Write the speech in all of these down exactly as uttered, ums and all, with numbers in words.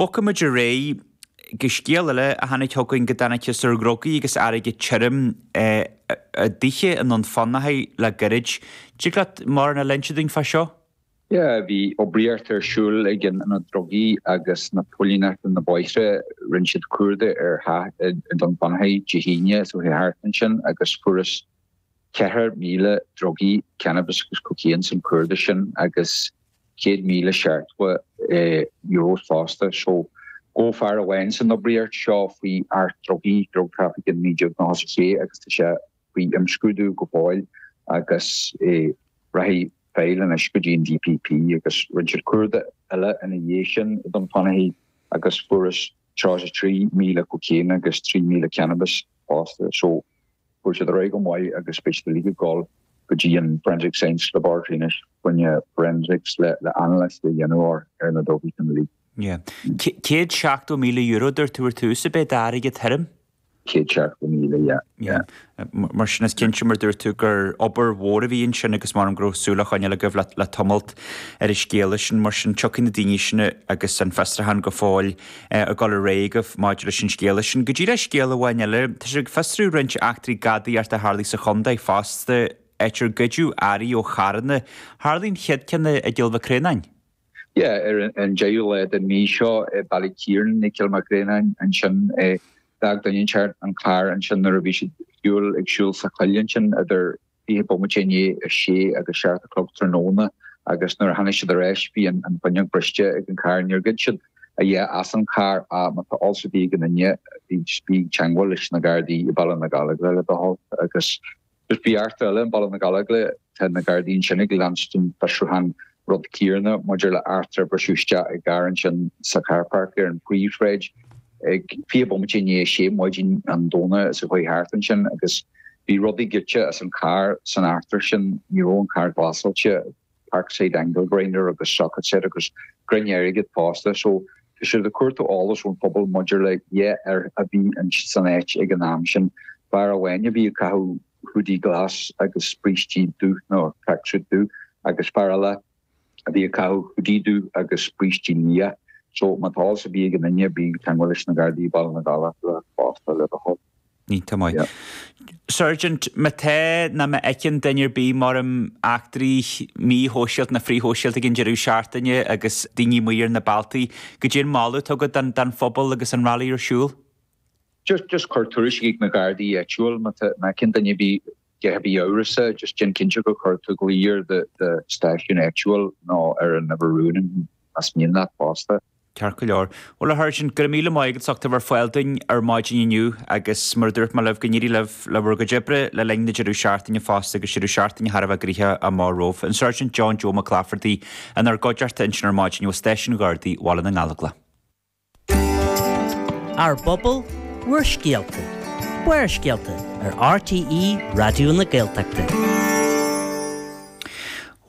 Bogfaimid ar aghaidh go scéal eile a tháinig chugainn go dtáinig ar dhrugaí agus airgead tirim i dtithe i nDún Fionnachaidh le gairid. Dtig leat mórán a inse dúinn fá seo? Yeah, bhí oibríocht ar siúl ag an Ionad Drugaí agus na póilíneachta na bóithre rinne siad cuardach ar theach i Dún Fionnachaidh Dé hAoine so thart ansin agus fuarthas ceithre míle drugaí cannabis agus cocaine san cuardach sin agus céad míle seachtó euro fosta so gabhadh fear amháin san oibríocht seo faoi Acht Drugaí drug trafficking naoi déag nócha sé agus tá sé faoi imscrúdú go fóill agus rachaidh file anois go dtí an DPP agus rinne siad cuardach eile ina dhiaidh sin i Dún Fionnachaidh agus fuarthas tríocha trí míle cocaine agus trí míle cannabis fosta so fuair siad ar aghaidh go maith agus beidh siad uilig ag dul go dtí an Forensic Science Laboratory anois faoina forensics le le analysis a dhéanamh ar na drugaí sin uilig. Yeah. Céad seachtó míle euro dúirt tú ar tús a bheith d'airgead thirim? Céad seachtó míle, yeah. Yeah. Mar sin is cinnte mar dúirt tú gur obair mhór a bhí ansin agus mar go raibh súil á choinneáil agaibh le, le tamalt ar an scéal sin mar sin tiocfaidh na daoine sin agus an fiosrúchán go fóill ag dul ar aghaidh agaibh maidir leis an scéal sin. Go dtí le scéal amháin eile, tá sé ag fiosrú roinnt eachtraí gadaíochta a tharlaigh sa chontae fosta áit ar goideadh earraí ó charranna. Tharlaigh an chéad ceann i gCill Mhic Réanáin. Yeah, ar an deichiú lá den mhí seo i Ballykeeran i Cill Mhic Réanáin ansin d'fhág duine inteacht an carr ansin nuair a bhí siad siúl ag siúl sa choill ansin idir fiche bomaite i ndiaidh a sé agus seacht a chlog tráthnóna agus nuair a tháinig siad ar ais bhí an an fuinneog briste ag an carr níor ghoid siad a dhath as an carr má tá eolas ar bith ag aon duine bhí bí ag teagmháil leis na Gardaí i Baile na Gallóglach le do thoil agus just bhí eachtra eile i Baile na Gallóglach tá na Gardaí ansin ag leanstan fiosrúchán rud céanna maidir le eachtra briseadh isteach i gcarr ansin sa car park ar an bpríomhshráid ag fiche bomaite i ndiaidh sé maidin an Domhnaigh sa chuaigh thart ansin agus bhí rudaí goidte as an carr san eachtra sin ní raibh an carr glasáilte Parkside angle grinder agus socket set agus grinneirgid fosta so tá siad ag cuartú eolas ón phobal maidir le dhá fhear a bhí san áit ag an am sin fear amháin a bhí ag caitheamh hoodie glas agus brístí dubh nó tracksuit dubh agus fear eile a bhí ag caitheamh hoodie dubh agus brístí liath so má tá eolas ar bith ag aon duine bí ag teagmháil leis na Gardaí Baile na Gallóglach fosta le do thoil. Iontach maith. Sergeant, má tá nó má fheiceann duine ar bith mar eachtraí míshóisialta nó frithshóisialta ag an deireadh seachtaine agus daoine amuigh ar na bealtaí, goidé an moladh atá agat don, don phobal agus an rally ar siúl? Just just cuir tuairisc ag na Gardaí áitiúil má tá má fheiceann duine ar bith a bheith amhrasach just déan cinnte go chuir tú glao ar do do stáisiún áitiúil nó ar an uimhir rúin as mian leat fosta. Ceart go leor. Bhuel a Sháirsint, go raibh míle maith agat as ucht a bheith ar fáil dúinn ar maidin inniu agus mar a dúirt mé libh go n-éirí libh le bhur gcuid oibre le linn na deireadh seachtaine fosta agus deireadh seachtaine thar a bheith gnoitheach amach romhaibh. An Sergeant John Joe Mac Laifeartaigh inár gcuideachta ansin ar maidin ó Stáisiún Ghardaí Bhaile na nGallóglach. Ár bpobal, bhur scéalta. Barrscéalta ar RTÉ Raidió na Gaeltachta.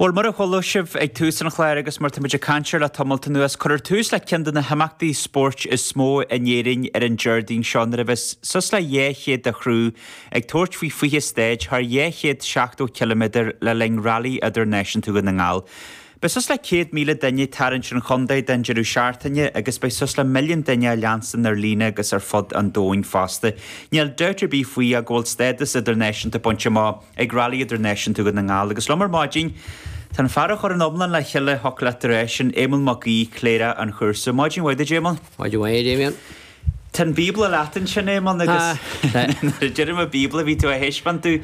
Bhuel mar a chuala sibh ag tús an chláir agus mar táimid ag caint air le tamalt anuas, cuirfear tús le ceann de na himeachtaí spóirt is mó in Éirinn ar an Déardaoin seo nuair a bheas suas le dhá chéad de chriú ag tabhairt faoi fiche stáid thar dhá chéad seachtó ciliméadar le linn Rally Idirnáisiúnta Dhún na nGall. Beidh suas le céad míle duine ag tarraingt an chontae don deireadh seachtaine agus beidh suas le milliún duine á leanstan ar líne agus ar fud an domhain fosta. Níl dabht ar bith faoi go bhfuil stádas idirnáisiúnta bainte amach ag Rally Idirnáisiúnta Dhún na nGall agus liom ar maidin Tá an fear a chuir an iomlán le chéile thiocfadh leat a rá sin Éamonn Mac Aoidh, Cléireach an chúrsa. Maidin mhaith duit Éamonn. Maidin mhaith Damien. Tá an Bíobla leat ansin Éamonn agus nuair a deirim an Bíobla bhí tú á thaispeáint domh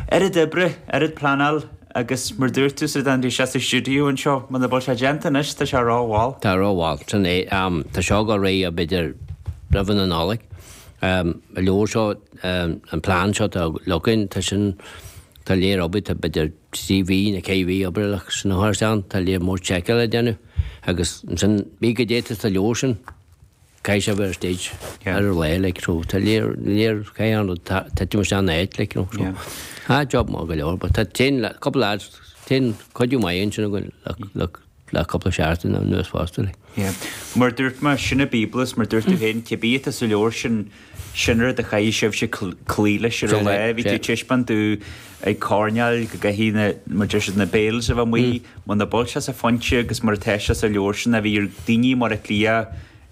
oiread oibre, oiread pleanáil agus mar dúirt tú sa dá sé sa stiúideo anseo muna bhfuil sé déanta anois tá sé rómhall. Tá rómhall sin é tá seo go réidh b'fhéidir roimh na Nollag. An leabhar seo an plean seo tá againn tá sin tá léir obair tá b'fhéidir trí mhí nó ceithre mhí oibre le sin a chur isteach tá léir mór seiceáil le déanamh agus ansin bí go dté sa leabhar sin caithfidh sé bheith ar stage ar an lá like so tá léir léir caithfidh an rud titim isteach in áit like you know so ah job maith go leor but tá téann cúpla lads téann cuidiú maith ansin againn le le le cúpla seachtain anuas fosta like. Yeah. Mar dúirt mé sin an Bíobla mar dúirt tú féin cibé atá sa leabhar sin sin rud a chaithfidh sibhse cloí leis ar an lá bhí tú taispeáint domh ag coirnéal go gcaithfidh na mar deir siad na bales a bheith amuigh muna bhfuil sé sa phointe agus mar atá sé sa leabhar sin a bhí ar daoine mar a Cliath